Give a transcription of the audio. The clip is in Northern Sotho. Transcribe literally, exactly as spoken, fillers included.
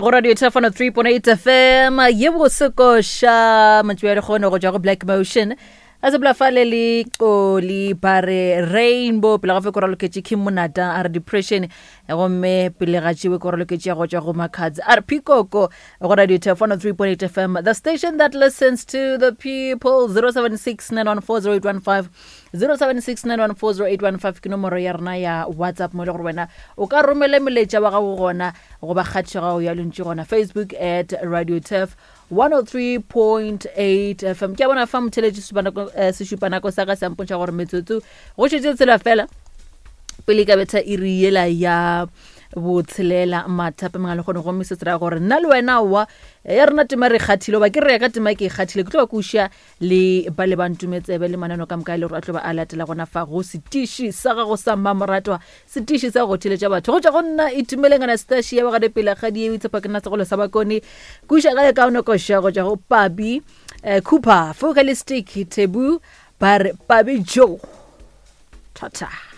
Go radio Thefano three point eight F M ye bosekoša mantšu ya lekgono go tšwa go Black Motion a sepela fale le Qoli ba re Rainbow pele ga fe koraloketše Kim Monata a re depression gomme pele ga tšewe koraloketše ya go tšwa go Makhadzi a re Pikoko go radio Thefano three point eight F M, the station that listens to the people. Zero seven six nine one four zero eight one five, zero seven six nine one four zero eight one five ke nomoro ya rena ya WhatsApp mo e le gore wena o ka romela molaetša wa gago gona goba kgatišo ya gago ya lentšu gona Facebook at Radio Turf one oh three point eight F M. Ke a bona fa motheletši sesupanako, eh, sešupanako sa ka se mpontšha gore metsotso go šetše tsela fela pele ka betha iri yela ya botshelela mathape mangwe le kgone gomme se se raya gore nna le wena wa ya rena tema re kgathile goba ke re ya ka tema ke e kgathile ke tlo ba kuša le ba le ba ntumetsebe le manano ka moka e le gore a tlo ba a latela gona fa go setiši sa gago sa mmamoratwa, setiši sa go theletša batho go tšwa go nna Itumeleng Anastasia ya bagade pele ga di e tshepa ke nna segolo sa bakone kuša ga e kaone koša go tšwa go Pabi, eh, Cooper Focalistic Tebu ba re Pabi Joe thata.